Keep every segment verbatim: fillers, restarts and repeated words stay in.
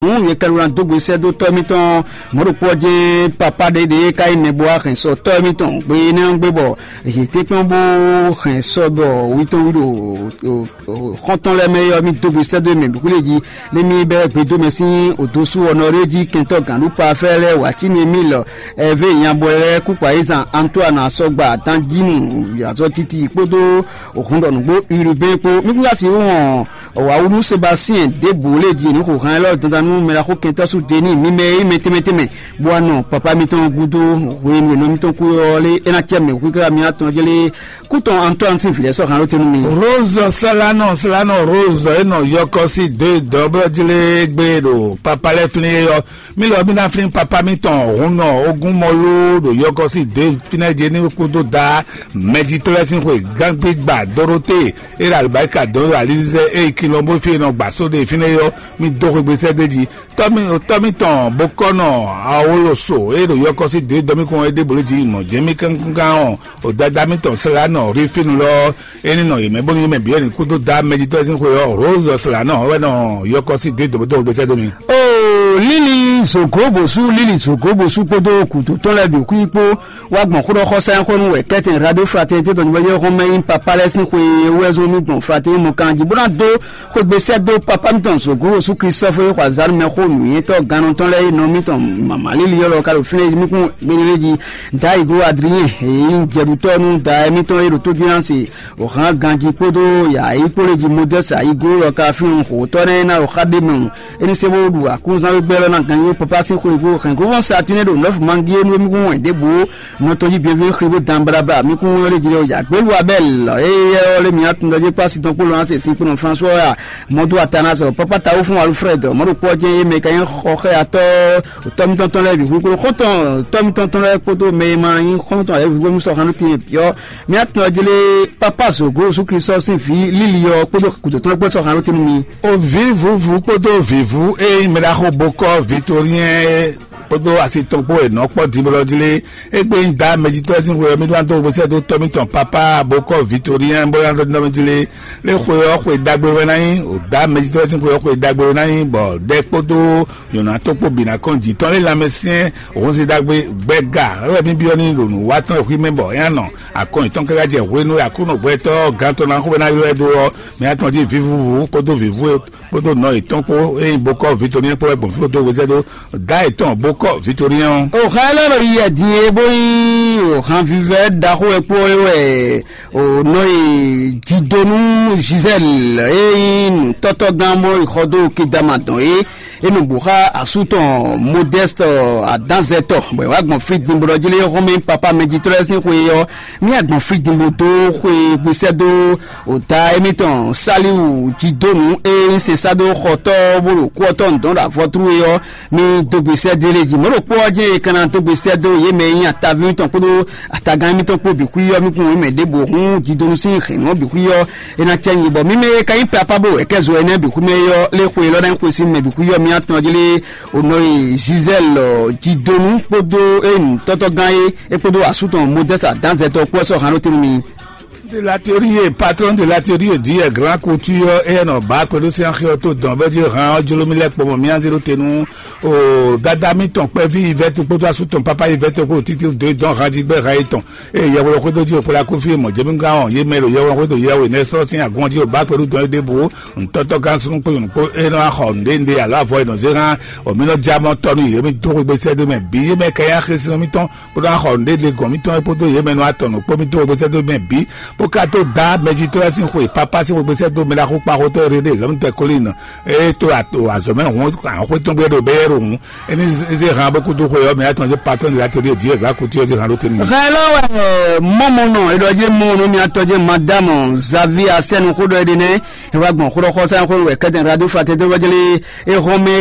Hǔn yě ka ɖó ná dó gbe sɛ́ dó tɔ́ mitɔn mɔ̌ ɖokpó ɔ́ jɛ́n. Papá ɖé ɖě ka nyí nɛbó wá hɛn sɔ tɔ́ mitɔn gbe énɛ́ ɔ́ gbe bɔ yě tɛ́nkpɔ́n bó hɛn sɔ bɔ wí tɔn wí ɖo xɔ́ntɔn lɛ́ɛ mɛ é ɔ́, mì dó gbe sɛ́ dó mɛ bǐ xwlé jí. Nú mì bɛ́ gbedomɛ sín odosú ɔ́ nɔ ɖé jí kɛntɔ́ gǎnɖúkpa fɛ́ lɛ́ɛ wǎ cí nú émí lɔ ɛvé nyabɔ lɛ́ɛ kú kpa yí zan Antoine asɔgba danjínu azɔtiti kpódó hɔn ɖɔ nǔgbó Urubɛ́n kpó. Mí kún ka sixú hɔn wǎwú nú Sebastien ɖěbǔ lě jí ní xo han élɔ́ dandan nú mɛ ɖaxó kɛntɔ́ sú Deníi mímɛ́ e nyí mɛ tɛnmɛ tɛnmɛ, bó wá nɔ papa mitɔn gúdo hwenu e nɔ mitɔn kú ɔ́ lé é ná cɛ mɛ hu káká mi atɔn jlé kú tɔn Antoine sín vǐ lɛ́ɛ sɔ́ han ɖó te nú mi. Rose Salano, Salano Rose e nɔ yɔkɔ sí dó dɔ̌blɔ́ jlé gbé ɖo papa lɛ́ɛ flín é ɔ́, mí lɔ mí ná flín papa mitɔn hun nɔ ogún mɔ ló ɖo yɔkɔ sí dó fínɛ́ jɛ ní kúdó da mɛjitɔ́ lɛ́ɛ sín xwe gángbígba Dorote e ɖo alibáríka dɔn ɖo alizizɛ e yi kilɔn bó fí e nɔ gbǎ só ɖe fínɛ́ é ɔ́, mí dó xwegbe sɛ́ d'é jí. Tɔ́ mì tɔ́ mì tɔn bó kɔ́ nɔ awoloso e ɖo yɔkɔ́sí dě dɔ́ mì kɔn é ɖěbǔ lé jí mɔ̌ jɛ́n mì kánkán ɔ́, o dada mitɔn Sɛlanɔ Rifinu lɔ é ní nɔ yě mɛ bónú yě mɛ bǐ wɛ ní kúdó dá mɛjitɔ́ sín xwe ɔ́, Rose Sɛlanɔ wɛ nɔ yɔkɔ́sí dě dɔ̌ bó dó xwegbe sɛ́ dó mi. O Lili Zogobosu, Lili Zogobosu kpódó gǔdo tɔn lɛ́ɛ bǐ xwí kpó wá gbɔn xó ɖɔ xɔsá nyixɔnu wɛ kɛ́tɛn Radio Fraternité tɔn ní bɔ yé xɔmɛ nyí papa lɛ́ɛ sín xwe wɛ zɔn nú gbɔn Fraternité mɔ kan jí bó ná dó xwegbe sɛ́ dó papa mitɔn Zogobosu Klistɔfu e xɔ azǎn mɛ xó nǔnywɛ́tɔ́ gannɔ tɔn lɛ́ɛ e nɔ mitɔn mama líli ɔ́ lɔ ka ɖo fínɛ́ mí kún gbéɖélé jí. Dayigo Adriyɛn e nyí jɛɖutɔ́ nú da mitɔn e ɖo tójúnásì o hán ganjí kpódó yǎyí kpó lé jí Modɛ́si ayígó lɔ ka fínɛ́ xǒtɔ́ nɛ́ ná ɖo xá ɖé mɛ. É ní se bó ɖu akúnzán wé gbɛ́ lɔ ná ganjí papa sín xwé kó hɛn gó vɔn Saturné ɖo nɔ́fu mangí é nú émí kún wɛn ɖěbǔ nɔ tɔn jí bienvenue xri bó dan blabla mí kún wɛn lé jí lɔ yǎ gbé lu Abɛl éyɛ́ ɔ́ lé mǐ atundɔ jí kpó asi tɔn kpó lɔ ná se sin kpó nɔ François ya mɔdó Atanase papa tawu fún Alfred mɔɖo kpɔ́ jɛ́n yé mɛ ka nyí xɔ xɛ atɔ́ tɔ́mítɔ́tɔ́ lɛ́ɛ bǐ xwíxwí xɔ́ntɔn tɔ́mítɔ́tɔ́ lɛ́ɛ kpódó mɛ e ma nyí xɔ́ntɔn lɛ́ɛ bǐ xwíxwí mú sɔ xanú tin yɛ piyɔ. Mía tɔn jí lé papa Zogo Jezu Kristu sín vǐ líli ɔ́ kpódó gǔdo tɔn kpó sɔ xanú tin nú mi. O vǐ vǔvú kpódó vǐvú e nyí mɛɖaxó bokɔ́ Victorien kpódó asi tɔn kpó e nɔ kpɔ́ din bó lɔ jí lé. Égbé nyí da mɛjitɔ́ sín xwe ɔ́, mí ɖó ná dó xwé sɛ́ dó tɔ́ mítɔn papa bokɔ́ Victorien bó ná ɖɔ nɔ́ jí lé. Lé xwe ɔ́ xwe ɖagbe wɛ ná nyí, o da mɛjitɔ́ sín xwe ɔ́ xwe ɖagbe wɛ ná nyí, bɔ ɖɛ kpódó nyɔ̌nu atɔ́ kpó bǐ ná kɔn jǐ tɔn lé lanmɛsyɛn Honzidagbe gbɛga wɛ mí byɔ́ n'i ɖo nǔwatɔ́ e hwi mɛ bɔ é ná nɔ akɔn yětɔn káká jɛ hwenu e Aklúnɔ gbɛtɔ́ gantɔ́ ná xo bɔ ná ylɔ́ ɛ dó ɔ́, mǐ atɔn jí vǐvúvú kpódó vǐvú e kpódó nɔ yětɔn kpó e nyí bokɔ́ Victorien kpó wɛ gbɔn fí dó hwezɛ́ dó dá yětɔn bokɔ́ Victorien ɔ́. O xa élɔ́ ɖo yi wɛ din e bó nyí o han vivɛ ɖaxó wɛ kpó é wɛ o nɔ yi jidonu Gisèle e nyí nǔtɔ́tɔ́gán bó yi xɔ dó kedama dɔn é. E nɔ bǔ xá asú tɔn Modeste adánzɛtɔ bɔ è wá gbɔn fí din bó ɖɔ jí lé xɔmɛ papa mɛjitɔ́ lɛ́ɛ sín xwe ɔ́, mí agbɔn fí din bó dó xwe gbesɛ dó ota émítɔn Saliwu jí dó nǔ e nyí sɛnsá dó xɔtɔ́ bó ɖo kú ɔ́ tɔn dɔn ɖo avɔtru é ɔ́, mí dó gbesɛ dó lé jí. Mɔ̌ ɖokpó ɔ́ jɛ́n è ka ná dó gbesɛ dó yě mɛ e nyí ataví tɔn kpódó atagán émítɔn kpó bǐ xwí ɔ́, mí kún mɛ ɖěbǔ hún jí dó nú sín hɛ̌nnu ɔ́ bǐ xwí ɔ́. È nǎ cɛ nyi bɔ mí mɛ e ka nyí papa bó wɛ kɛ́ zo énɛ́ bǐ xwímɛ é ɔ́, lé xwe élɔ́ ná nyí xwe sín mɛ bǐ xwí ɔ́, mì atɔn jí lé o nɔ yi Gisèle jidonu kpódó enu tɔ́tɔ́gán é é kpódó asú tɔn Modeste adánzɛtɔ́ kpó ɛ sɔ́ han ɖó tɛ́nú mi. De l'atelier, patron de l'atelier dit grand couture et nɔ ba kpɛɖó sín axi ɔ́ tó dɔn bɛ jí han ɔ́ jló mì lɛ́ kpɔmɔ mì azé ɖó te nú o dada mitɔn kpɛví ivɛtu kpódó asú tɔn papa ivɛtu kpó títí dó dɔn han jí gbɛ han yětɔn. Eye yɛhweɖɔ xwedó jí òkpla kúfí mɔ̌ jɛ́mígán ɔ́, yě mɛ ɖo yɛhweɖɔ xwedó yɛhwe nɛ́ sɔ́ sín agɔn jí ò bá kpɛɖú dɔn é ɖěbǔ. Ntɔ́tɔ́ gán súnnu kpó nyɔ̌nu kpó é nɔ wá xɔ nǔɖé nǔɖé alo avɔ e nɔ zé hán ɔ̌, mí nɔ já mɔ tɔ́ nú yě, mí dó xwegbe sɛ́ dó mɛ bǐ. Yě mɛ ka nyí axésínɔ mítɔn bó nɔ wá xɔ nǔɖé ɖe gɔ̌n mítɔn é kpódó yě mɛ nɔ wá tɔn nǔ kpó mí dó xwegbe sɛ́ dó mɛ bǐ, bó ka tó dá mɛjitɔ́ lɛ́ɛ sín xwe pápá sín xwegbe sɛ́ dó mɛ ɖaxó kpaxótɔ́ e ɖe lɔ̌mtɛ kólín. Eye tó azɔ̌ mɛ hǔn ahɔ́xwé tɔn gbé ɖo bɛ́yɛ́ ɖo hǔn. Éní zé han bó kúdó xwe ɔ́, mɛ atɔn zé patɔ́n de la tɛ́ ɖíe dǐ e glǎ kútú ɔ́ zé han ɖó tɛ́nú mɛ. Hɛn lɔ wɛ mɔmɔnɔ e ɖɔ jɛ mɔ nú mia tɔn jɛ madame Xavier Asɛnu xó ɖɔ e ɖe nɛ. E wá gbɔn xó ɖɔ xɔsa xó wɛ kɛtɛn radio fraternité wɛ jɛlɛ e hɔn mɛ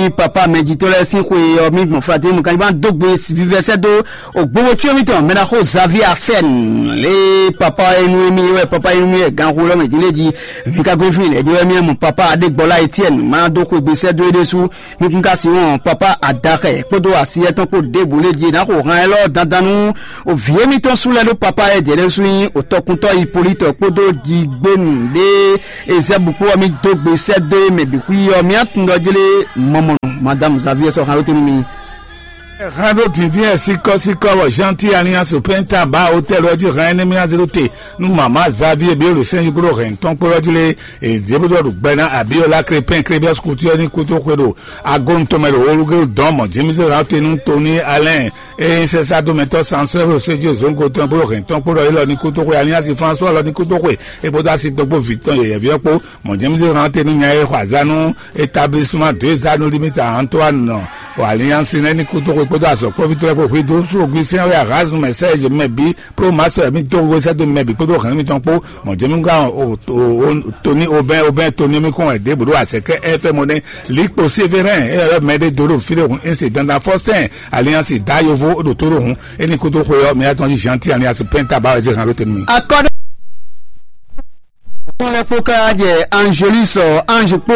yi papa mɛ jitɔ lɛ sín xwe ɔ mi gbɔn fraternité mu kan ba dó gbe vivɛsɛ dó o gbogbo tsyɔ mi tɔn mɛ na xó Xavier Asɛnu le papa enu mi wɛ papa enu mi wɛ gan xó lɔ mɛ jɛlɛ ji mi ka gbe fi lɛ jɛ wɛ mi mu papa Adegbɔla Etienne ma dó xwe gbesɛ dó e ɖe su. Mi kún ka si wɔn papa adaxɛ kpódó asi etɔn kpó ɖěbǔ lé jí ná xo han élɔ́ dandan nú o vǐ émítɔn sú lɛ́ ɖó papa e jɛ ɖésú nyí o tɔkuntɔ́ Hipólítɔ kpódó jigbénu ɖé Ezɛ́bu kpó ɔ́, mí dó gbe sɛ́ dó e mɛ bǐ xwí ɔ́, mía tun ɖɔ jlé mɔmɔnɔ. Madame Xavier sɔ xan ɖó te nú mi. Hɛn ɖó dǐndín ɛ síkɔ́síkɔ́ bɔ Jean-Ti Alliance Penta ba hotɛl ɔ́ jí hɛn énɛ́ mì azé ɖó te nú mama Xavier Biolo sɛn yí kúɖó hɛn tɔn kpó ɔ́ jí lé. Èdè bó ɖɔ ɖo gbɛ ná Abiola Crépin Crébios Couture ní kútó xwe ɖo agonu tɔn mɛ ɖo Olugéwu dɔn mɔ James Raute nú Tony Allen. Eye sɛsá dó mɛtɔ́ Sansɔ́ José Zóńgo tɔn kpó hɛn tɔn kpó ɖɔ élɔ́ ní kútó xwe Alliance François lɔ ní kútó xwe é kpódó asi tɔn kpó vǐ tɔn yɛyɛ̌ví ɔ́ kpó. Mɔ̌ James Raute nú nya e xɔ azǎn nú établissement deux anneaux limite à Antoine Alliance nɛ́ ní kútó xwe kpódó azɔ̌kplɔ́vítɔ́ lɛ́ɛ kpó hwedó sógwi sɛ́n wɛ Erasme Serge Mɛbi kpló Marcel mì dó we sɛ́ dó mɛ bǐ kpódó hɛ̌nnu mitɔn kpó. Mɔ̌ Jɛmígán Toni Obɛn Obɛn Toni mi kɔn wɛ ɖěbǔ ɖo azɛ̌kɛ F M ɔ́ nɛ́. Likpo Sévérin e ɔ́ mɛ ɖé dó ɖo fí ɖé hun incident Faustin Alliance dá yovo ɖo tó ɖo hun. É ní kúdó xwe ɔ́, mɛ atɔn jí Jean-Ti Alliance Penta ba wɛ zé han ɖó tɛnumɛ. Akɔ́ɖé tɔn lɛ́ɛ kpó ká jɛ Angelus Ange kpó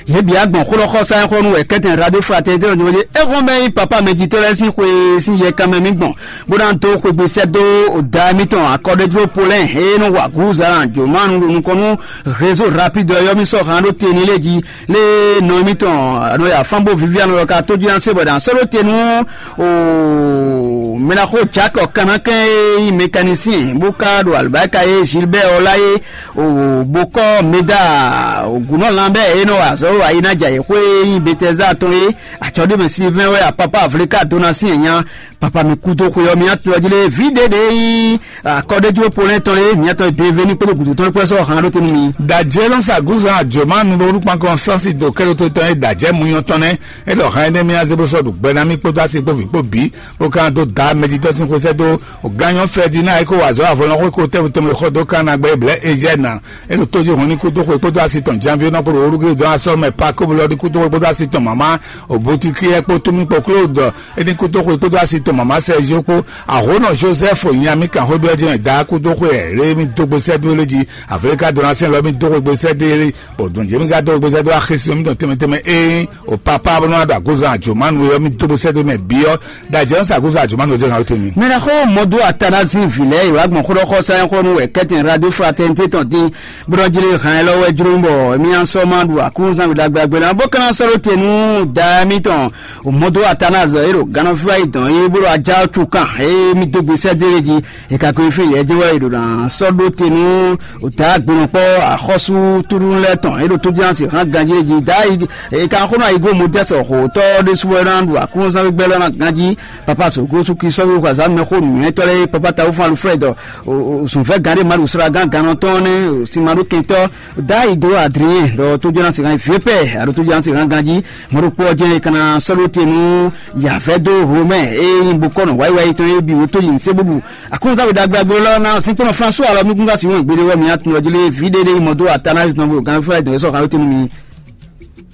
yě bǐ agbɔn xó ɖɔ xɔsa xɔ nú wɛ kɛ́tɛn Radio Fraternité ɔ́ jɛ é xɔ́n bɛ́ nyí papa mɛjitɔ́ lɛ́ɛ sín xwe sín yɛ kanmɛ mì gbɔn bó ná dó xwegbe sɛ́ dó da émítɔn akɔ́ɖéjló Polɛ́n e nɔ wa gǔzan jǒmánu ɖo nukɔn nú réseau rapide ɔ́ yɔ́mí sɔ́ han ɖó te ní lé jí lé nɔ émítɔn nɔ ya fán bó Viviane ɔ́ ka tó jí ná se bɔ dǎn sɔ́ ɖó te nú o mɛɖaxó Jack Ɔkanakɛn e nyí mécanicien bó ka ɖo alibáka e Gilbert ɔ́ lá é o bó kɔ́ Meda o gǔnɔ lanbɛ e nɔ wa azɔ̌ wa yi ná jɛ ayǐxwé e nyí Betɛza tɔn é. Acɔ́ɖémɛ Silvɛn wɛ apapa Avlika Donasi nya papa mi kú dó xwe ɔ́ mi atɔ jí lé vǐ ɖé ɖé nyí akɔ́ɖéjló Polɛ́n tɔn lé mi atɔ Bienvenu kpódó gǔdo tɔn kpó sɔ́ han ɖó te nú mi. Dajɛ nɔ sa gúzan àjòmánu ɖo olúkpankɔ sánsi dò kɛ́ɖótó tɔn e dajɛ muyɔ tɔn nɛ́. É ɖɔ han énɛ́ mì azé bó sɔ́ ɖo gbɛ ná mì kpódó asi kpó vǐ kpó bǐ bó ka dó da mɛjitɔ́ sín xwésɛ́ dó gányɔ Fɛdina e kó wa azɔ̌ avɔlɔnxó e kó tɛ́ tɔn mɛ xɔ dó kan na gbɛ blɛ̌ Ejɛ́na. É ɖo tó jí hɔn ní kúdó xwe kpódó asi tɔn Janvier nɔ kó ɖo olúgrí dɔn asɔ mɛ Pakóbu lɔ ní kúdó xwe kpódó asi tɔn mama Obutikiyɛ kpó Tumí kpó Klódɔ é ní kúdó xwe kpódó asi tɔn mama Sɛzio kpó Ahonɔ Joseph nyamí kan xwé byɔ́ jɛ́n da kúdó xwe ɛ lé mì dó gbe sɛ́ dó lé jí Avelika dɔn asɛn lɔ mì dó xwe gbe sɛ́ dó lé bɔ dɔn jɛ́ mì ka dó xwe gbe sɛ́ dó axésin mì dɔn tɛnmɛ tɛnmɛ é o papa bó nɔ ɖo agozan àjòmánu e ɔ́ mì dó gbe sɛ́ dó mɛ bǐ ɔ́ ɖo ajɛ ɔ́ sa agozan àjòmánu e zé hàn ó tɛn mì. Mɛ ɖo xó mɔ dó Atanazi vǐ lɛ́ɛ yi wá gbɔn xó ɖɔ xɔ sɛn xó nú wɛ kɛ́tɛn Radio Fraternité tɔn dín bó nɔ jlé hɛn élɔ́ wɛ jló bɔ émí ná sɔ́ ma ɖu aklúnúzán ɖagbe ɖagbe lɛ́ɛ bó ka ná sɔ́ ɖó te nú da émítɔn mɔ dó Atanazi e ɖo gannɔfíwa yi dɔn é bó ɖo ajá cukan é mì dó gbe sɛ́ dó é jí. È ka ko yi fí yɛ jɛ́n wɛ è ɖo ná sɔ́ ɖó te nú ò ta gbenɔkpɔ́ axɔ́sú tlúnú lɛ́ɛ tɔn é ɖo tójúlánsi hán ganjí é jí. Dayi è ka xó nú ayǐgómɔ dɛ́ sɔ xǒtɔ́ ɖésú wɛ ná ɖu aklúnúzán gbígbɛ́ lɛ́ɛ ná ganjí. Papa sǒgósú Kristu sɔ́ wí xwazǎn mɛxó nǔnywɛ́tɔ́ lɛ́ɛ papa tawúfɔ́n Alfred zunfɛ́ gǎn ɖé Maɖu slágán gannɔ tɔn nɛ́ sinmaɖó kɛntɔ́. Dayi glo Adrien ɖɔ tójúlánsi hán viépɛ aɖo tójúlánsi hán ganjí. Mɔɖokpó ɔ́ jɛ́n è ka ná sɔ́ ɖó te nú yǎvɛ́ dó Romɛ e nyí bokɔ́nɔ wáyíwáyí tɔn é bǐ wótó yi nsé búbu. Aklúnɔzán we ɖagbe agbo lɔ ná sínkpɔ́nɔ François alɔ mi gúngán sí wɛn gbede wɛ mi atun ɔ́ jí lé vǐ ɖé ɖé yi mɔ dó Atanazi tɔn bo gán fúlá dɔn é sɔ xan wétenu mi.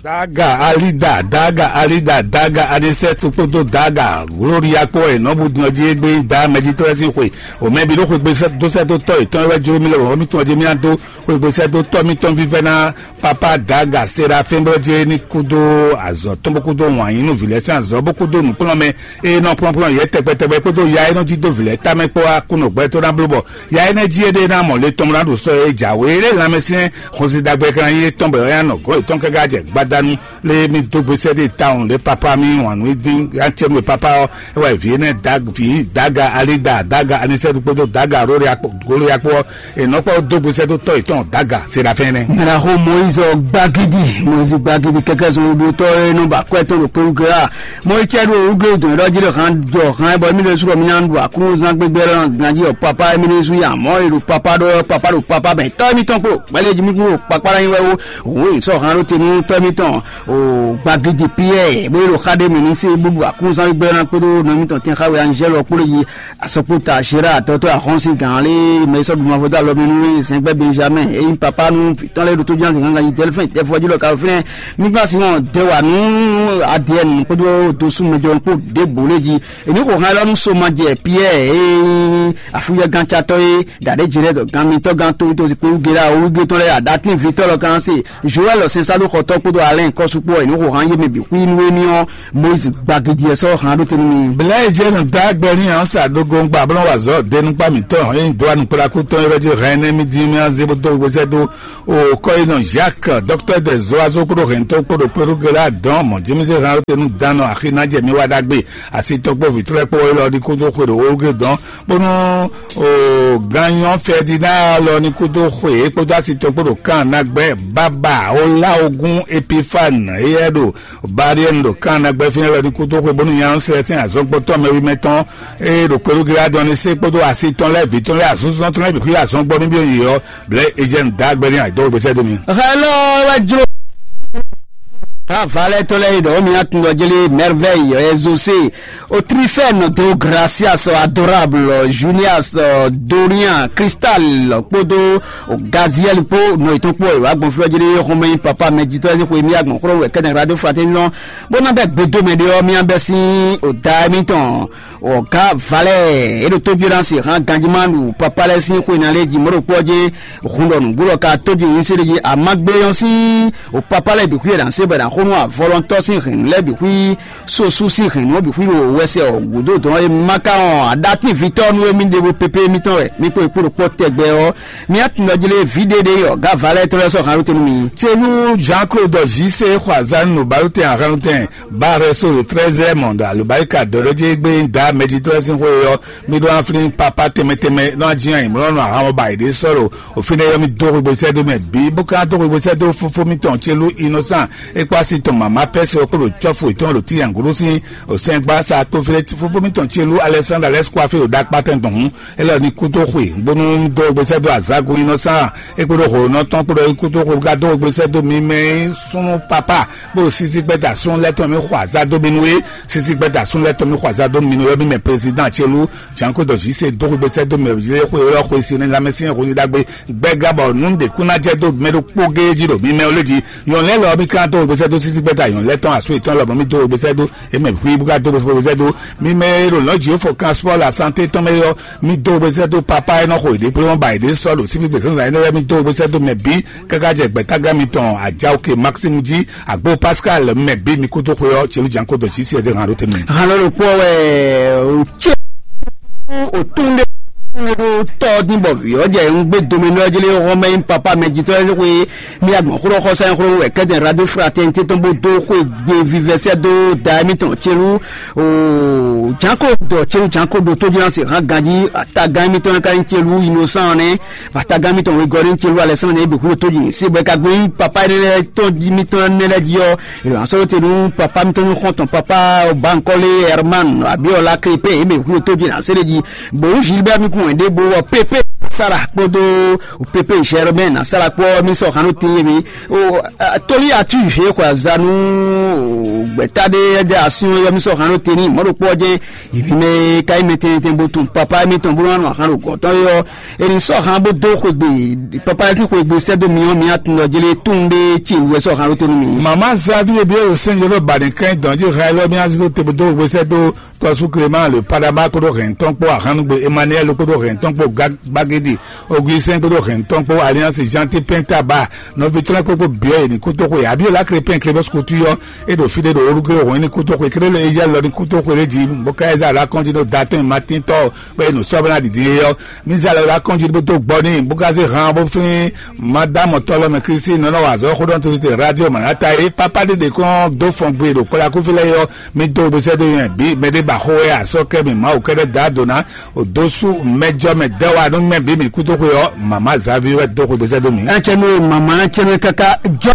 Daga Alida, Daga Alida, Daga Anisɛtu kpódó Daga Gloria kpó wɛ nɔ́ bú din ɔ́ jí égbé nyí da mɛjitɔ́ lɛ́ɛ sín xwe. O mɛ bǐ ɖó xwegbe dó sɛ́ dó tɔ́ yětɔn e wɛ jló mì lɛ wɔ mì tɔn ɔ́ jí mì ná dó xwegbe sɛ́ dó tɔ́ mítɔn vívɛ́ ná Papa Daga Serafin bó jɛ ní kúdó azɔ̌ tɔn bó kúdó wǎn yí nú vǐ lɛ́ɛ sín azɔ̌ bó kúdó nǔkplɔ́nmɛ e nɔ kplɔ́nkplɔ́n yě tɛgbɛtɛgbɛ kpódó ya e nɔ jí dó vǐ lɛ́ɛ tamɛ kpó wá kú nɔ gbɛtɔ́ ná bló bɔ ya énɛ́ jí éɖée ná mɔ le tɔn ná ɖo sɔ́ e jǎwe é lé lanmɛsyɛn xɔnsin ɖagbe kan nyí étɔn bɔ é ná nɔ gɔ̌ yětɔn káká jɛ gbadanu lé mì dó gbe sɛ́ ɖé tawun lé papa mì wǎn nú dín acɛ́nú e papa ɔ́ é wɛ vǐ énɛ́ vǐ Daga Alida Daga Anisɛtu kpódó Daga Gloria kpó È nɔ kpɔ́ dó gbe sɛ́ dó tɔ́ yětɔn Daga Serafin nɛ́. Mɛɖaxó Moyiz gbagidi, Moyiz gbagidi kɛkɛ zɔn ɖotɔ e nɔ ba kwɛ tɔn ɖo kpewugla. Mɔyicɛ ɖo wúgbe dɔn ɖɔ jí ɖo han jɔ han bɔ mí ɖo sukɔ mí ná ɖu aklúnúzán gbégbé lɔ ganjí ɔ papa mí ɖo zu ya mɔ e ɖo papa ɖo papa ɖo papa bɛ tɔ mí tɔn kpo gbɛlɛ jí mí kpo kpakpa ɖo anyi wɛ wo. Wo yi sɔ han ɖo te nú tɔ mí tɔn o gbagidi Pierre bó yi ɖo xa ɖe mɛ ní se bó ɖu aklúnúzán gbégbé lɔ kpódó nɔ mí tɔn tɛn xa wɛ Angèle ɔ kpó ɖo yi Asɔkpota Gérard tɔtɔ ahɔnsi gan lé mɛ sɔ duma fɔtɔ alɔ mi nú sɛngbɛ Benjamin eyi papa nú fitɔn lé ɖo tó ján sɛngbɛ ganji tɛlifɛn tɛfɔ jí lɔ ka fínɛ nígbà sí wọn dɛ wà nú adiɛ nù kpódó dosu mɛjɔ kpó ɖé bò lé jí èmi kò hàn lɔ nú soma jɛ Pierre eyi afúyɛ gan tsatɔ yé dàdé jì lɛ dɔ gan mitɔ gan tó tó kpé wúgé la wúgé tɔn lɛ adatí vitɔ lɔ kan se Joël sɛnsálú xɔtɔ kpódó Alɛn kɔ́sukpɔ e nǔ xo han yé mɛ bǐ xwí nú émí ɔ́, Moyizi gbagidi ɛ sɔ́ han ɖó te nú mi. Blɛ̌ e jɛ nɔ dó agbɛ n'i ǎ sa dó gɔngba blɔ́ wazɔ́ denukpá mǐtɔn e nyí dó anukplaku tɔn e wɛ jí hɛn nɛ́ mì dín mì azé bó dó wezɛ́ dó o kɔ́yinɔ Jacques, dɔkítɔ́ de zɔ́wazó kpódó hɛntɔ́ kpódó kpéɖógelá dɔn mɔ̌ jí mì zé han ɖó te nú dan nɔ axi ná jɛ mì wá ɖagbe. Asi tɔn kpó vǐ tlɛ́ kpó élɔ́ ɖi kúdó xwe ɖo wógé dɔn bónú o ganyɔ Ferdinand lɔ ní kúdó xwe é kpódó asi tɔn kpó ɖo kan ná gbɛ baba oláogún Epifane éyɛ́ ɖo Bariɛnu ɖo kan ná gbɛ fínɛ́ lɔ ní kúdó xwe bónú nya sɛ́ sɛn azɔngbɔtɔ́ mɛwimɛ tɔn e ɖo kpelúgilá dɔn ní sé kpódó asi tɔn lɛ́ɛ vǐ tɔn lɛ́ɛ azɔnzɔn tɔn lɛ́ɛ bǐ xwí azɔngbɔ ní byɔ́ yě ɔ́ blɛ̌ Ejɛ́nu dǎgbɛ́ ní ayǐdɔ́ gbèsè dó mi. Hello, wɛ jlo. Avalɛ tɔn lɛ yi ɖɔ mi atun dɔ jeli merveille ezose o trifɛn do gracias adorable junias dorian cristal kpódó o gaziel kpó nɔ yětɔn kpó ìwà gbɔn flɔ jeli xɔmɛ papa mɛ jitɔ ɛsɛ xɔ mi agbɔn xlɔ wɛ kɛnɛ radio fraternité bó ná bɛ gbedo mɛ ɖe ɔ mi abɛ sín o da mi tɔn. Ɔgá valɛ e ɖo tójú ɖa si hàn ganjima ɖu papa lɛ sín xwe ná lé jí mɔɖo kpɔ jɛ hun ɖɔ nǔgbó ɖɔ ka tójú yín sí ɖe jí amagbe ɔ́ sín o papa lɛ bǐ xwí ɖa se bɛ ɖa xónú avɔlɔntɔ sín hɛn lɛ bǐ xwí sosu sín hɛn nú bǐ xwí ɖo wɛsɛ ɔ gǔdo dɔn e maka ɔn aɖatín vitɔ nú emi ɖe bo pépé mitɔn wɛ mi kpo kpo ɖo kpɔ tɛgbɛ ɔ mi atun ɖɔ jlé vi ɖe ɖe ɔgá valɛ tɔn lɛ sɔ hàn lóte nú mi. Tselú Jean Claude J C xɔ azan nú balótɛn ahanlótɛn Barre so le treize monde alubarika dɔɖɔjegbe da mɛjitɔ́ sín xwe ɔ́, mi ɖó aflín papa tɛnmɛ tɛnmɛ nɔ ají ayǐmlɔ́nɔ ahan ba yi ɖě sɔ́ ɖo òfin ɖé yɔ́ mi dó xwegbe sɛ́ dó mɛ bǐ bó ka dó xwegbe sɛ́ dó fófó mitɔn Celú Innocent é kpó asi tɔn mama pɛ́ se ɔ́ kpó ɖo cɔ́fu yětɔn ɖo tíyanglo sín òsɛngbá sa kpó flé fófó mitɔn Celú Alexandre lɛ́ sukú afé ɖo ɖakpá tɛn gbɔn hǔn é lɔ ní kú dó xwe bónú dó xwegbe sɛ́ dó azǎgo Innocent é kpó ɖo hǒnɔ tɔn kpó ɖɔ é kú dó xwe bó ka dó xwegbe sɛ́ dó mi mɛ súnú papa bó sísí gbɛ́ da sún lɛ́ tɔn mì xɔ azá dó mi nú é. Sísí gbɛ́ da sún lɛ́ tɔn mì xɔ azá dó mi nú é. Ɔ́ mi mɛ président Celú Janko dɔ jí se dó xwegbe sɛ́ dó mɛ yé xwe ylɔ́ xwe si ní lanmɛsyɛn xwe ní ɖagbe gbɛ́ gá bɔ nǔ ɖě kún ná jɛ dó mɛ ɖokpó géé jí ɖo mi mɛ wlé jí. Yɔn lɛ́ lɔ mi ka dó xwegbe sɛ́ dó sísí gbɛ́ da yɔn lɛ́ tɔn asú yětɔn lɔ mɔ mi dó xwegbe sɛ́ dó é mɛ xwí bó ka dó xwegbe sɛ́ dó mi mɛ e ɖo lɔ̌ jí fɔ kan sport la santé tɔn mɛ yɔ mi dó xwegbe sɛ́ dó papa e nɔ xo yě ɖe kplé mɔ ba yě ɖe sɔ́ ɖo síbí gbèsè zan énɛ́ lɛ́ɛ mi dó xwegbe sɛ́ dó mɛ bǐ káká jɛ gbɛ̌tágán mitɔn Ajaoke Maxime jí Agbo Pascal mɛ bí mi kúdó xwe ɔ́ Celú Janko dɔ jí sí ɛzɛ hàn ló tɛnmɛ. Hàn ló ɖo kpɔ́ wɛ o ce o tún ɖé ɖó tɔ́ dín bɔ vǐ ɔ́ jɛ ń gbé domi nɔ jlé hɔn mɛ nyí papa mɛ jitɔ́ ɛ xwe mi agbɔn xló xɔsá xló wɛ kɛdɛ radio fraternité tɔn bó dó xwe gbé vivɛsɛ dó da émi tɔn Celú o Janko dɔ Celú Janko ɖo tó jlá se hàn ganjí atagán émi tɔn ka nyí Celú Innocent nɛ Vatagan mitɔn wegɔ́ ní Celú Alexandre e bǐ xwíɖó tó jí sí bɔ é ka gbé nyí papa énɛ́ lɛ́ɛ tɔn jí mitɔn énɛ́ lɛ́ɛ jí ɔ́, è nɔ sɔ́ te nú papa mitɔn ní xɔ́ntɔn papa Bankole Herman Abiola Crépe e bǐ xwíɖó tó jí ná séré jí. Bǒ Gilbert mi kún wɛn ɖé bó wɔ pépé Sara kpódó pépé Germain ná Sara kpó mi sɔ xanú te yé mi. Tolí atu yě xɔ azanu gbɛ̀tá ɖé ɛdɛ asyɔn yɔ mi sɔ xanú te ní mɔ̌ ɖokpó ɔ́ jẹ́ Èmi mɛ ka nyí mɛ tɛntɛn bó tunwun papa émítɔn bó nɔ ahan ɖo gɔ̌n tɔn é ɔ́, è nǐ sɔ́ han bó dó xwegbe papa lɛ́ɛ sín xwegbe sɛ́ dó mi ɔ́, mi atun ɖɔ jlé tunwun ɖé ce wú wɛ sɔ́ han ɖó te nú mi. Mama Xavi e byɔ́ ɖo sɛ́n jɛ ɖo ba ɖě kɛn dɔn jí hɛn lɔ mía zé dó te bó dó xwegbe sɛ́ dó tɔ́sú Clément le Padama kpódó hɛn tɔn kpó ahan nú gbe Emmanuel kpódó hɛn tɔn kpó Bagédi Augustin kpódó hɛn tɔn kpó Alliance Gentil Pintaba nɔví tɔn lɛ́ɛ kpókpó byɔ́ yě ní kútóxwe Abiola Crépin Clémence Couture ɔ́, é ɖo fí ɖé ɖo Olúgbé hɔn ní kútóxwe kélé lé Ézíali lɔ ní kútóxwe lé jí bó ká Ɛza ɖo akɔ́njí ɖó da tɔn e ma tín tɔ́ bɔ é nǔ sɔ́ bó ná ɖiɖi é ɔ́. Mí zé alɔ ɖó akɔ́njí bó dó gbɔ n'i bó ká zé han bó flín Madámɔ tɔ́ lɔ mɛ Klísu nɔ nɔ wa azɔ̌ xó ɖɔ tɛ́ntin radio mǎnátá e pápá ɖé ɖě kɔn dó fɔn gbe ɖo kplɔ́yákúví lɛ́ɛ é ɔ́, mí dó we bó sɛ́ dó nywɛ́ bǐ mɛɖé ba xó wɛ asɔ́ kɛ́ mǐ Mawu kɛ́ɖɛ́ dó ado ná. Odosu mɛjɔ mɛ dɛwa nú mɛ bǐ mǐ kúdó xwe ɔ́, mama Xavi wɛ dó xwe gbèsè dó mǐ. Ɛtsɛ nú mama ɛtsɛ nú kaka jɔ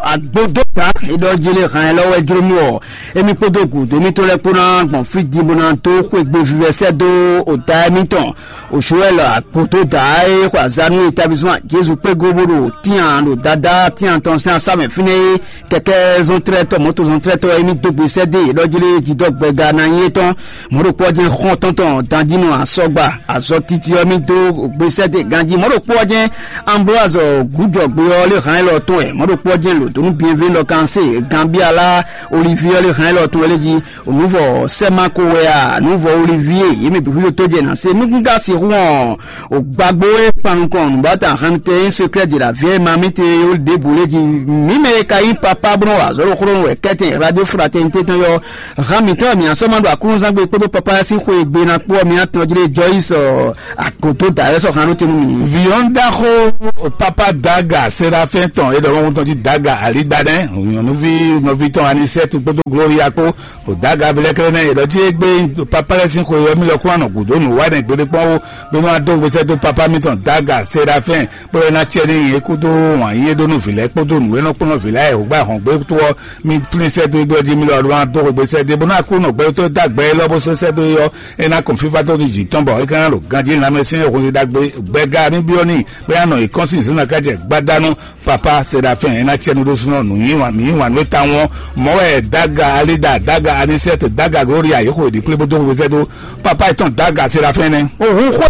agbodo ta idɔ jele hàn lɔ wɛ jlo mí wɔ emi kpódó gǔdo mító lɛ́ kpó ná gbɔn fí din bó ná dó xwe gbe vivɛ sɛ dó o da émítɔn o Joel agbodo da e xɔ azá nú établissement Jésus kpé go bó ɖo tian ɖo dada tian tɔn sín asá mɛ fínɛ́ é kɛkɛ zɔntrɛtɔ mɔto zɔntrɛtɔ emi dó gbèsè dé yě ɖɔ jlé jidɔ gbɛga ná nyí étɔn mɔɖokpɔ jɛ xɔn tɔntɔn danjinu asɔgba azɔ titi ɔmi dó gbèsè dé ganji mɔɖokpɔ jɛ Ambroise gújɔgbe ɔ lé hàn lɔ tɔn ɛ mɔɖokpɔ jɛ lòdónú bienvenue lɔ Kanse, Gambiala, Olivier le hɛn lɔ tun ele jí, Nuvɔ Sɛmako wɛ a, Nuvɔ Olivier, yě mɛ bǐ xwíxwí tó jɛ nǎ se nukúnká sixú ɔn, o gbàgbó e kpan nukɔn nǔbáta hannutɛ e secret de la vie ma mi te yó ɖěbǔ lé jí. Mǐ mɛ e ka nyí papa bó nɔ wa azɔ̌ ɖo xlónú wɛ kɛ́tɛn radio fraternité tɔn yɔ, hán mǐtɔn mǐ asɔ́ ma ɖo akúnúzángbe kpódó papa sín xwe e gbe ná kpó ɔ́, mǐ atɔn jí lé Joyce, ɔ, akoto da wɛ sɔ hannú tɛnu mǐ. Viyɔn ɖaxo papa Daga Serafin tɔn e ɖɔ wọn tɔn jí Daga Alidanɛ, nyɔnuvi nɔvi tɔn Anisɛtu kpódó Gloria kpó, o Daga vilɛkɛlɛ nɛ e ɖɔ jí egbe papa lɛ sín xwe ɔ́ mi lɔ kún anɔ gǔdo nǔ wa nɛ gbeɖé kpɔn ó, bó nɔ adó gbèsè dó papa mitɔn Daga Serafin, bó lɛ ná cɛ ní yě kúdó wǎn yí é ɖó nú vǐ lɛ́ɛ kpódó nǔ e nɔ kplɔ́n vǐ lɛ́ɛ e wǒgbá hɔn gbé tó ɔ́, mi flín sɛ́ dó égbé ɔ́ jí mi lɔ ɖó ná dó xwegbe sɛ́ dó é, bó ná kú nɔ gbɛɖótɔ́ dó agbɛ élɔ́ bó sɔ́ sɛ́ dó é ɔ́, é ná kɔn fífá tó nú jǐ tɔn bɔ é ka ná ɖo ganjí lanmɛsyɛn xwezí ɖagbe gbɛga mì byɔ́ n'i, bó ná nɔ yi kɔ́n sín zǐnzán ká jɛ gbadanu. Papa Seɖafɛ́n, é ná cɛ nú ɖésúnɔ nǔ yí wǎn nú é tawun ɔ́, mɔ̌ wɛ Daga Alida, Daga Anisɛ́t, Daga Gloria yě xo yě ɖi kplé bó dó xwezí sɛ́ dó. Papa yětɔn Daga Seɖafɛ́n nɛ́. Òhun xwé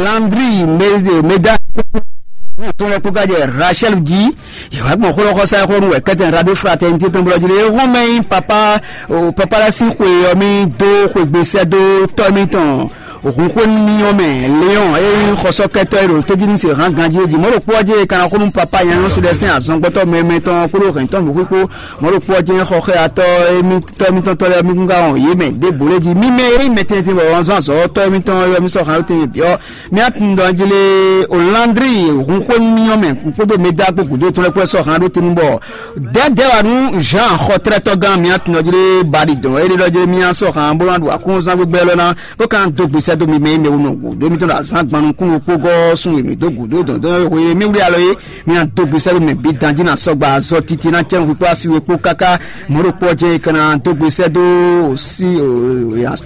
Landry Meda tɔn lɛ́ kpó ká jɛ Rachel jí. Yě wá gbɔn xó lɔ xɔ sá xó nú wɛ kɛ́tɛn Radio Fraternité tɔn blɔ́ jí lé. Éhɔn mɛ nyí papa, o, papa lɛ́ sín xwe ɔ́ mì dó xwegbe sɛ́ dó tɔ́ mitɔn. Òhun xwé nú mì ɔ́ mɛ Léon e nyí xɔsɔ́kɛ́tɔ́ e ɖo tójínísehán ganjí é jí. Mɔ̌ ɖokpó ɔ́ jí e ka ná xó nú papa nyanyɔ́ si lɛ́ sín azɔngbɔ́tɔ́ mɛmɛ tɔn kpódó hɛ̌ntɔn bǐ xwíxwó. Mɔ̌ ɖokpó ɔ́ jɛ́n xɔ xɛ atɔ́ émítɔ́ émítɔn tɔ́ lɛ́ɛ mì gúngá wɔn yě mɛ ɖěbǔ lé jí. Mì mɛ e nyí mɛtɛntin bɔ wǎn zɔ́n azɔ̌ tɔ́ émítɔn ɔ́ ylɔ́ mì sɔ́ xan ɖó tɛnmɛ bǐ ɔ́, mì atundɔ jí lé Olandri hun xwé mì ɔ́ mɛ kpódó mɛ dá kpó gǔdo tɔn lɛ́ kpó sɔ́ xan ɖó tɛnmɛ bɔ dɛ̌dɛ̌ wǎ nú Jean xɔtlɛ́tɔ́gán mì atundɔ jí lé baɖi dɔn é ɖé ɖɔ jí mì asɔ́ xan bó ná ɖu akúnzán gbígbɛ́ lɔ ná bó ka dó gbèsè dó mi mɛ yi mɛ wunɔ gǔdo mì tɔn ɖo azán gban nukúnnú kpó gɔ́ sun e mì dó gǔdo dɔn dɔn e hwe mì wlí alɔ é. Mì adó gbèsè dó mɛ bǐ danjí ná sɔgba azɔ titi ná cɛ́nxu kpó asi we kpó káká mɔ̌ ɖokpó ɔ́ jɛ é ka ná dó gbèsè dó sí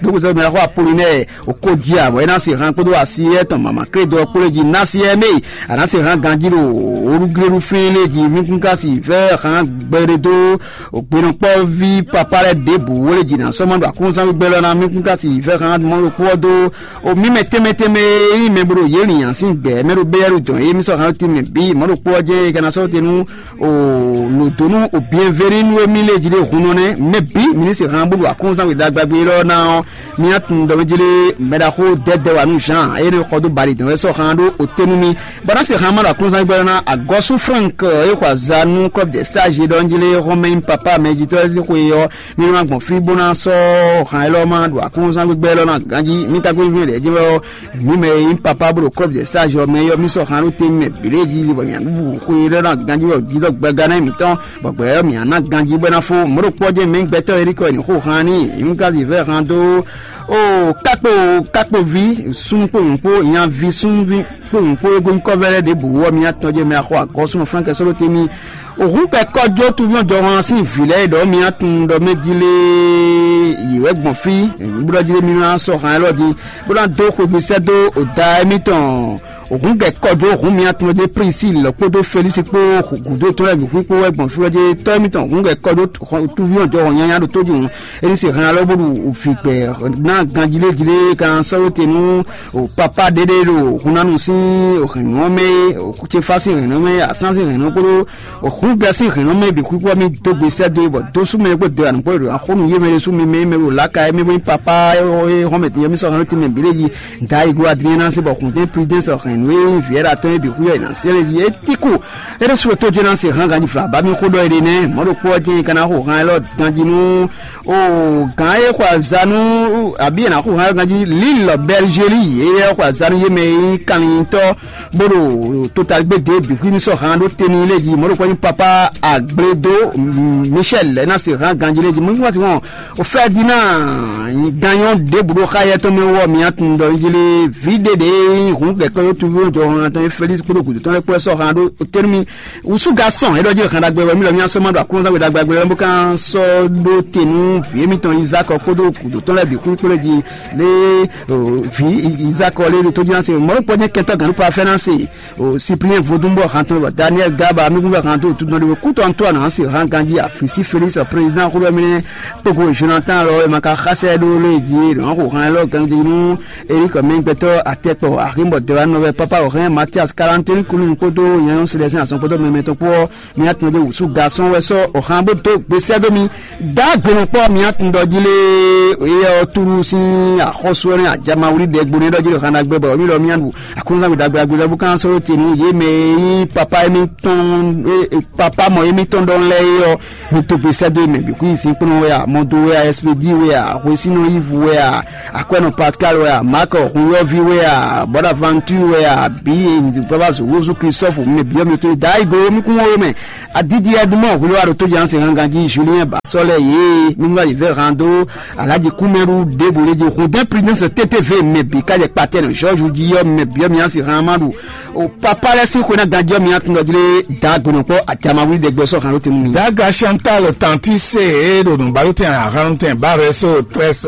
dó gbèsè dó mɛ xó Apolinɛ́ɛ o kó jí a bɔ é ná se han kpódó asi étɔn mama krédɔ kpó lé jí ná sí ɛ mɛ a ná se han ganjí ɖo olúgléɖú fín lé jí mí kún ká si vɛ́ han gbɛɖe dó gbenɔkpɔ́ví papá lɛ́ɛ ɖěbǔ wó lé jí ná sɔ́mɔ ɖo akúnzán gbígbɛ́ lɔ ná mí kún ká si vɛ́ han mɔ ɖokpó ɔ́ dó o mí mɛ tɛnmɛ tɛnmɛ e nyí mɛ bo ɖo yě lǐnyǎn sín gbɛ̌ mɛ ɖo béyɛ́ ɖo dɔn é mí sɔ́ han tɛnmɛ bǐ mɔ̌ ɖokpó ɔ́ jɛ́n é ka ná sɔ́ te nú o lǒdonu o bienvenu e mí lé jí ɖe hun nɔ nɛ́ mɛ bǐ mǐ ní se han bó ɖo akúnzán gbědá gbagbe élɔ́ ná ɔ́. Mía tunwun ɖɔ mɛ jlé mɛ ɖaxó dɛdɛ wǎ nú Jean eye nɔ xɔ dó bali dɔn wɛ sɔ han ɖó ote nú mi. Bɔ ná se han ma ɖo akúnzán gbɛdɔ ná agɔsú Frank e xɔ azá nú club de stage ɖɔ jlé xɔmɛ nyí papa mɛ jitɔ ezi xwe ɔ́. Mi nɔ gbɔn fí bó ná sɔ́ han élɔ́ ma ɖo akúnzán gbígbɛ élɔ́ ná ganjí mi ka gbé mi ɖɛ jí wɛ ɔ́. Mi mɛ e nyí papa bó ɖo club de stage ɔ́ mɛ yɔ mi sɔ han ɖó te mɛ bǐ ɖé jí bɔ mi bu xwe élɔ́ ná ganjí wɛ jí dɔ gbɛgá ná mitɔn. Bɔ gbɛ ɔ́ mǐ ná ganjí bɔ é ná fó mɔ̌ ɖo kpɔ́ jɛ́n mɛ gbɛtɔ́ Erikɔ e ní xo han ní nyǐkɔ́ vǐvɛ́ han dó o kákpo kákpoví súnnu kpó nyɔ̌nu kpó nyaví súnnuví kpó nyɔ̌nu kpó e gosín kɔ́vɛ́ lɛ́ɛ ɖěbǔ ɔ́ mǐ atɔn jɛ́n mɛ axɔ agɔ́ súnnu Flɛ́nkɛ sɔ́ ɖó tɛ́nmí. Òhú kɛ kɔjó tuví ɔ́ jɔhɔn sín vǐ lɛ́ɛ ɖɔ mǐ atun ɖɔ mɛ jí lé yě wɛ gbɔn fí bó ɖɔ jí lé mí ná sɔ́ han élɔ́ din bó ná dó xwebísɛ́ dó da émítɔn. Hǔn gɛ̌ kɔ dó hǔn mì atɔn ɖé Prisíli kpódó Felísi kpó gǔdo tɔn lɛ́ɛ bǐ xwí kpó wɛ gbɔn fí ɔ́ jɛ tɔ́ émítɔn hǔn gɛ̌ kɔ dó túví ɔ́ jɔ hɔn nyanya ɖo tójú hǔn. Éní se hɛn alɔ bó ɖu vǐ gbɛ ná ganjíléjlé kan sɔ́ wé te nú papa ɖéɖé ɖo hunnánu sín hɛ̌nnú ɔ́ mɛ, céfá sín hɛ̌nnú ɔ́ mɛ, asán sín hɛ̌nnú ɔ́ kpódó hǔn gɛ́ sín hɛ̌nnú ɔ́ mɛ bǐ xwíxwí ɔ́ mì dó gbe sɛ́ dó e bɔ dó sú mɛ kpó dó anǔ kpó ɖo axónú yé mɛ ɖésú mi mɛ mɛ ɖo lǎka e mɛ bó nyí papa e hɔn mɛ tɛn yɛ mì sɔ́ hɛn nú tɛn mɛ bǐ ɖé yi. Dayigo Adriana se bɔ Kuntin Prudence hɛn nú e nyí Vieira tɔn e bǐ xú yɔ yi na sɛlɛ yi e tiku. E ɖe su to jena se hàn ganji fla ba mi xo dɔ ede nɛ mɔ ɖo kpɔ jɛ kana xo hàn lɔ ganji nu o gan e xɔ azanu abi na xo hàn ganji Lille Belgique ye xɔ azanu ye mɛ yi kanlintɔ bó ɖo total gbé de bǐ xú mi sɔ hàn ɖo teni lé yi mɔ ɖo kpɔ nyi papa Agbledo Michel na se hàn ganji lé yi mo ní wá sí wọn. O Ferdinand ganyɔ ɖěbǔ ɖo xá yɛ tɔn mɛ wɔ mǐ atun ɖɔ yili vǐ ɖe ɖe hun kɛkɛ yó tuví jɔ hɔn atɔn Felix kpódó gǔdo tɔn lɛ́ kpó sɔ hàn ɖo tɛnumi. Wusu gasɔn e ɖɔ jí hàn ɖagbe wɛ mí lɔ mí asɔ ma ɖo akúnzán gbé ɖagbe lɛ bó kan sɔ ɖó tenu vǐ émítɔn Isaac kpódó gǔdo tɔn lɛ́ bǐ kú kpódó jí lé vǐ Isaac lé tó jí náà se mɔ̌ kpɔ́ jẹ́ kɛntɔ́ gǎn ló pa fɛ́ náà se. O Cyprien Vodúnbɔ hantɔn bɔ Daniel Gaba amígúnvɛ hantɔn tutun ɖe kútɔ ntɔ na se hàn ganji afisi Félix président xulɔ mi kpogbo Jonathan lɔ ma ka xasɛ ɖo lé ji lɔ ko hàn lɔ ganji nu Eric mɛgbɛtɔ atɛkpɔ ahimbɔ dɛwa nɔvɛ Papa Orin Mathias Kalantoni Kulun kpódó nyanyɔ́ Silɛsɛn Azɔn kpódó mɛmɛ tɔn kpó ɔ́, mi atún ɖé wǔsú gasɔn wɛ sɔ́ Orin bó dó gbesɛ́ dó mi. Dǎgbénɔkpɔ́ mi atún ɖɔ jí lé, éyɛ́ ɔ́ túnú sín axɔ́sú ɔ́ nɛ́ ajamawlí ɖɛgbo nɛ́ ɖɔ jí lé Orin ɖagbe bɔ mí lɔ mí aɖu Aklúnɔ́ wi ɖagbe ɖagbe lɛ́ɛ bó kán sɔ́ ɖó te nú yě mɛ e nyí papa émítɔn, papa mɔ émítɔn ɖɔhun lɛ́ɛ é ɔ́, mi dó gbesɛ́ dó mɛ bǐ kú nyi sín kplɔ́n wɛ a, mɔdo wɛ a, espedi wɛ a, hwesínɔ yivu wɛ a, akwɛ́nɔ Pascal wɛ a, Mark Hunyɔ́ví wɛ a, Bonaventure wɛ a, bǐ e nyǐdúgbábá zǒwózú Christophe mɛ bǐ ɔ́ mi tó yi da igo mi kún wó mɛ. Adidi Edmond hwiló aɖo tó jǎn se hangan jí Julien Basɔlɛ yě mi nú ayǐvɛ́ han dó Alhaji Kúmɛɖu ɖěbǔ lé jí Rodin Prudence T T V mɛ bǐ ká jɛ kpatɛ nɔ George jí ɔ́ mɛ bǐ ɔ́ mi á se han ma ɖu. O papa lɛ́ɛ sín xwe ná ganjí ɔ́ mi á tún ɖɔ jí lé da gbenɔkpɔ́ acamawi ɖɛgbɛ sɔ́ han ló tɛnu mi. Daga Chantal Tanti se e ɖo nǔbaɖótɛn ahanutɛn Bareso Tres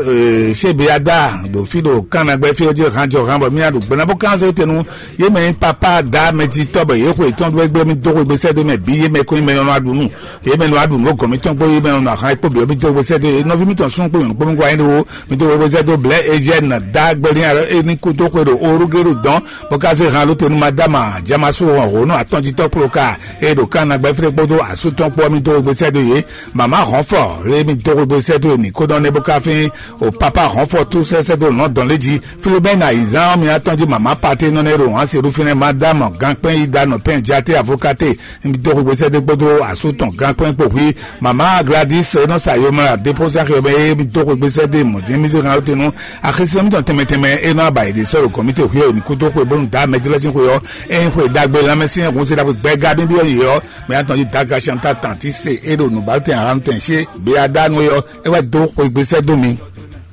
Shebeada ɖo fí ɖo Kánnagbɛ́ fí ɔ́ jí hanjɔ han bɔ mía ɖo gbɛ́nabɔ kánzɛ tenu yé mɛ nyí papa da mɛjitɔ́ bɔ yě xwe tɔn ɖó égbé mi dó xwe gbèsè dó mɛ bǐ yé mɛ kɔn nyí mɛ nɔ aɖu nú yé mɛ nɔ aɖu nú gɔn mitɔn kpó yé mɛ nɔ ahan kpó bǐ ɔ́ mi dó xwe gbèsè dó yé nɔví mitɔn sún kpó nyɔ̌nu kpó mi gwa nyí ɖo mi dó xwe gbèsè dó blɛ́ Ejɛ́n da gbɛlin alɔ é ní kú dó xwe ɖo orúgéɖo dɔn bó ká zé han ɖó te nú Madama Jamasu hɔn hǒ nú atɔ́njítɔ́ kplɔ́ ka e ɖo Kánnagbɛ́ fí ɖé kpódó asú tɔn kpó ɔ́ mi dó xwegbe sɛ́ dó yě. Mama Hɔnfɔ lé mi dó xwegbe sɛ́ dó yě ní kó nɔ nɛ́ bó ká fín o Papa Hɔnfɔ tú sɛ́ sɛ́ dó lɔ̌ndɔn lé jí. Filomɛ́na ayǐzán ɔ́ mi atɔ́njí mama Paté nɔ nɛ́ ɖo hɔn se ɖó fínɛ́ Madama Gankpɛ́n Ida nɔ pɛn Jaté Avokate mi dó xwegbe sɛ́ dó kpódó asú tɔn Gankpɛ́n kpó hwí. Mama Gladys e nɔ sa yomla dépózá xyɔmɛ e mi dó xwegbe sɛ́ dó mɔ̌ jɛ́n mi zé hàn ó te nú axisɛ́n mitɔn tɛnmɛ tɛnmɛ e nɔ aba yě ɖe sɔ́ ɖo gɔ̌n mì te hwí ɔ́ ní kúdó xwe bónú dǎ mɛjlɔ́sín xwe ɔ́, ényí xwe ɖagbe lanmɛsyɛ́n hun se ɖagbe gbɛ́gá bíbí ɔ́ yě ɔ́, mɛ atɔn jí Daga Chantal Tanti se é ɖo nǔbátɛn ahanutɛn xwé Beadánu é ɔ́, é wɛ dó xwegbe sɛ́ dó mi.